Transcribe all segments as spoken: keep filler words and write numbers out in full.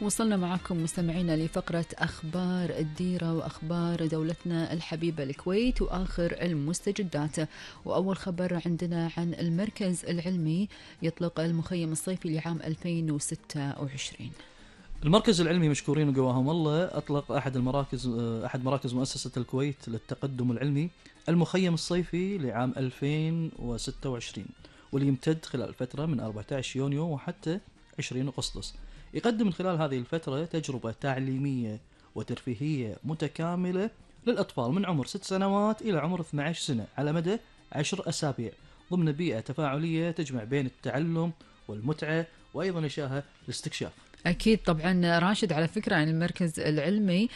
وصلنا معكم مستمعينا لفقرة أخبار الديرة وأخبار دولتنا الحبيبة الكويت وآخر المستجدات. وأول خبر عندنا عن المركز العلمي يطلق المخيم الصيفي لعام ألفين وستة وعشرين. المركز العلمي مشكورين وقواهم الله أطلق أحد المراكز أحد مراكز مؤسسة الكويت للتقدم العلمي المخيم الصيفي لعام ألفين وستة وعشرين، واللي يمتد خلال الفترة من أربعة عشر يونيو وحتى عشرين أغسطس. يقدم من خلال هذه الفترة تجربة تعليمية وترفيهية متكاملة للأطفال من عمر ست سنوات إلى عمر اثنتي عشرة سنة على مدى عشر أسابيع ضمن بيئة تفاعلية تجمع بين التعلم والمتعة وأيضا إشاعة الاستكشاف. أكيد طبعا راشد، على فكرة عن المركز العلمي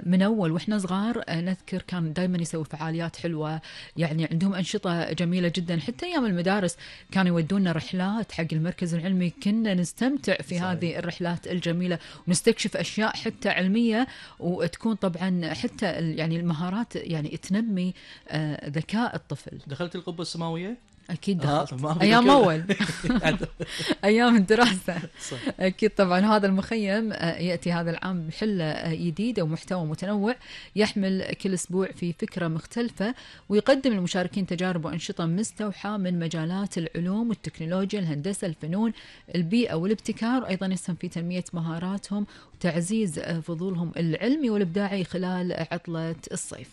من أول وإحنا صغار نذكر كان دايما يسوي فعاليات حلوة، يعني عندهم أنشطة جميلة جدا. حتى أيام المدارس كانوا يودونا رحلات حق المركز العلمي، كنا نستمتع في صحيح. هذه الرحلات الجميلة ونستكشف أشياء حتى علمية، وتكون طبعا حتى يعني المهارات يعني تنمي ذكاء الطفل. دخلت القبة السماوية؟ أكيد دخلت آه أيام أول أيام الدراسة صح. أكيد طبعا هذا المخيم يأتي هذا العام بحلة جديدة ومحتوى متنوع يحمل كل أسبوع في فكرة مختلفة، ويقدم للمشاركين تجارب وأنشطة مستوحاة من مجالات العلوم والتكنولوجيا، الهندسة، الفنون، البيئة والابتكار، أيضا يسهم في تنمية مهاراتهم وتعزيز فضولهم العلمي والإبداعي خلال عطلة الصيف.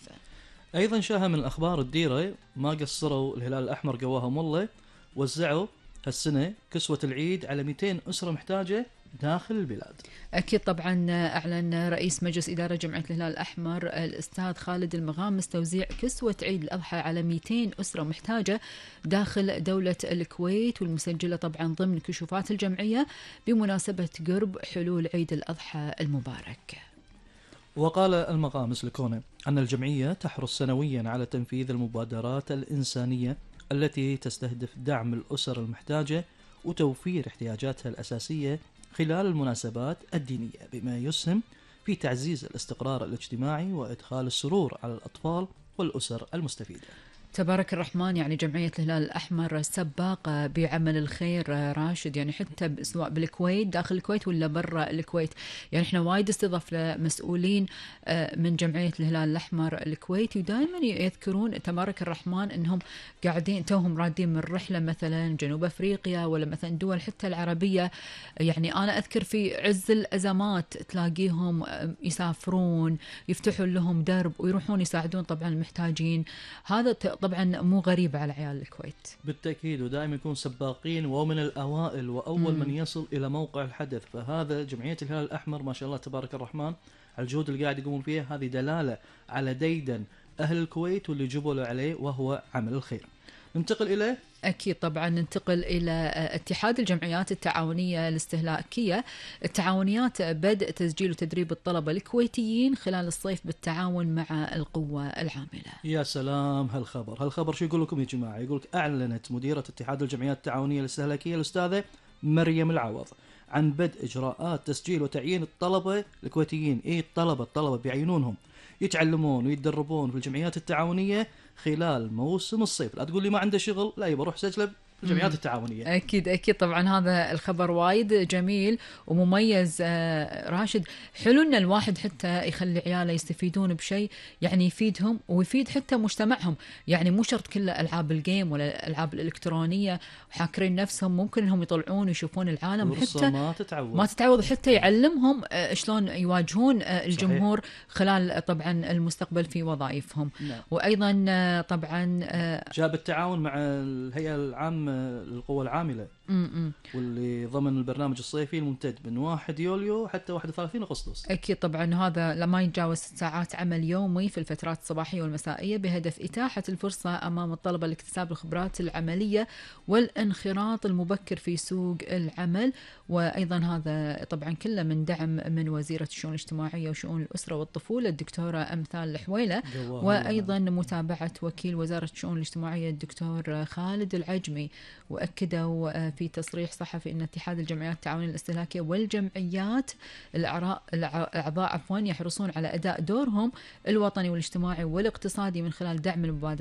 أيضا شاهة من الأخبار الديرة ما قصروا الهلال الأحمر قواهم الله، وزعوا هالسنة كسوة العيد على مئتين أسرة محتاجة داخل البلاد. أكيد طبعا أعلن رئيس مجلس إدارة جمعية الهلال الأحمر الأستاذ خالد المغامس توزيع كسوة عيد الأضحى على مئتين أسرة محتاجة داخل دولة الكويت، والمسجلة طبعا ضمن كشوفات الجمعية بمناسبة قرب حلول عيد الأضحى المبارك. وقال المغامس لكونه أن الجمعية تحرص سنويا على تنفيذ المبادرات الإنسانية التي تستهدف دعم الأسر المحتاجة وتوفير احتياجاتها الأساسية خلال المناسبات الدينية، بما يسهم في تعزيز الاستقرار الاجتماعي وإدخال السرور على الأطفال والأسر المستفيدة. تبارك الرحمن، يعني جمعية الهلال الأحمر سباقة بعمل الخير راشد، يعني حتى سواء بالكويت داخل الكويت ولا برا الكويت. يعني احنا وايد استضفنا مسؤولين من جمعية الهلال الأحمر الكويتي ودائما يذكرون تبارك الرحمن انهم قاعدين توهم رادين من رحلة مثلا جنوب أفريقيا ولا مثلا دول حتى العربية. يعني أنا أذكر في عز الأزمات تلاقيهم يسافرون يفتحون لهم درب ويروحون يساعدون طبعا المحتاجين. هذا طبعا مو غريب على عيال الكويت بالتأكيد، ودائما يكون سباقين ومن الأوائل وأول مم. من يصل إلى موقع الحدث. فهذا جمعية الهلال الأحمر ما شاء الله تبارك الرحمن على الجهود اللي قاعد يقومون فيها، هذه دلالة على ديدن أهل الكويت واللي جبلوا عليه وهو عمل الخير. ننتقل إلى أكيد طبعا ننتقل إلى اتحاد الجمعيات التعاونية الاستهلاكية. التعاونيات بدء تسجيل وتدريب الطلبة الكويتيين خلال الصيف بالتعاون مع القوة العاملة. يا سلام هالخبر هالخبر شو يقول لكم يا جماعة؟ يقولك أعلنت مديرة اتحاد الجمعيات التعاونية الاستهلاكية الأستاذة مريم العوض عن بدء إجراءات تسجيل وتعيين الطلبة الكويتيين. إيه الطلبة الطلبة بيعينونهم يتعلمون ويتدربون في الجمعيات التعاونية خلال موسم الصيف. لا تقول لي ما عنده شغل، لا يبقى روح سجله الجمعيات التعاونية. أكيد أكيد طبعا هذا الخبر وايد جميل ومميز راشد. حلو إن الواحد حتى يخلي عياله يستفيدون بشيء يعني يفيدهم ويفيد حتى مجتمعهم. يعني مو شرط كله ألعاب الجيم ولا الألعاب الإلكترونية وحاكرين نفسهم، ممكن إنهم يطلعون ويشوفون العالم حتى ما تتعوض ما تتعوض حتى يعلمهم شلون يواجهون الجمهور صحيح. خلال طبعا المستقبل في وظائفهم. نعم. وأيضا طبعا جاب التعاون مع الهيئة العامة القوة العاملة م-م. واللي ضمن البرنامج الصيفي الممتد من واحد يوليو حتى واحد وثلاثين أغسطس. أكيد طبعا هذا لما يتجاوز ست ساعات عمل يومي في الفترات الصباحية والمسائية بهدف إتاحة الفرصة أمام الطلبة لاكتساب الخبرات العملية والانخراط المبكر في سوق العمل. وأيضا هذا طبعا كله من دعم من وزيرة الشؤون الاجتماعية وشؤون الأسرة والطفولة الدكتورة أمثال الحويلة، وأيضا متابعة وكيل وزارة الشؤون الاجتماعية الدكتور خالد العجمي. وأكدوا في تصريح صحفي أن اتحاد الجمعيات التعاونية الاستهلاكية والجمعيات الأعضاء عفوا يحرصون على أداء دورهم الوطني والاجتماعي والاقتصادي من خلال دعم المبادرات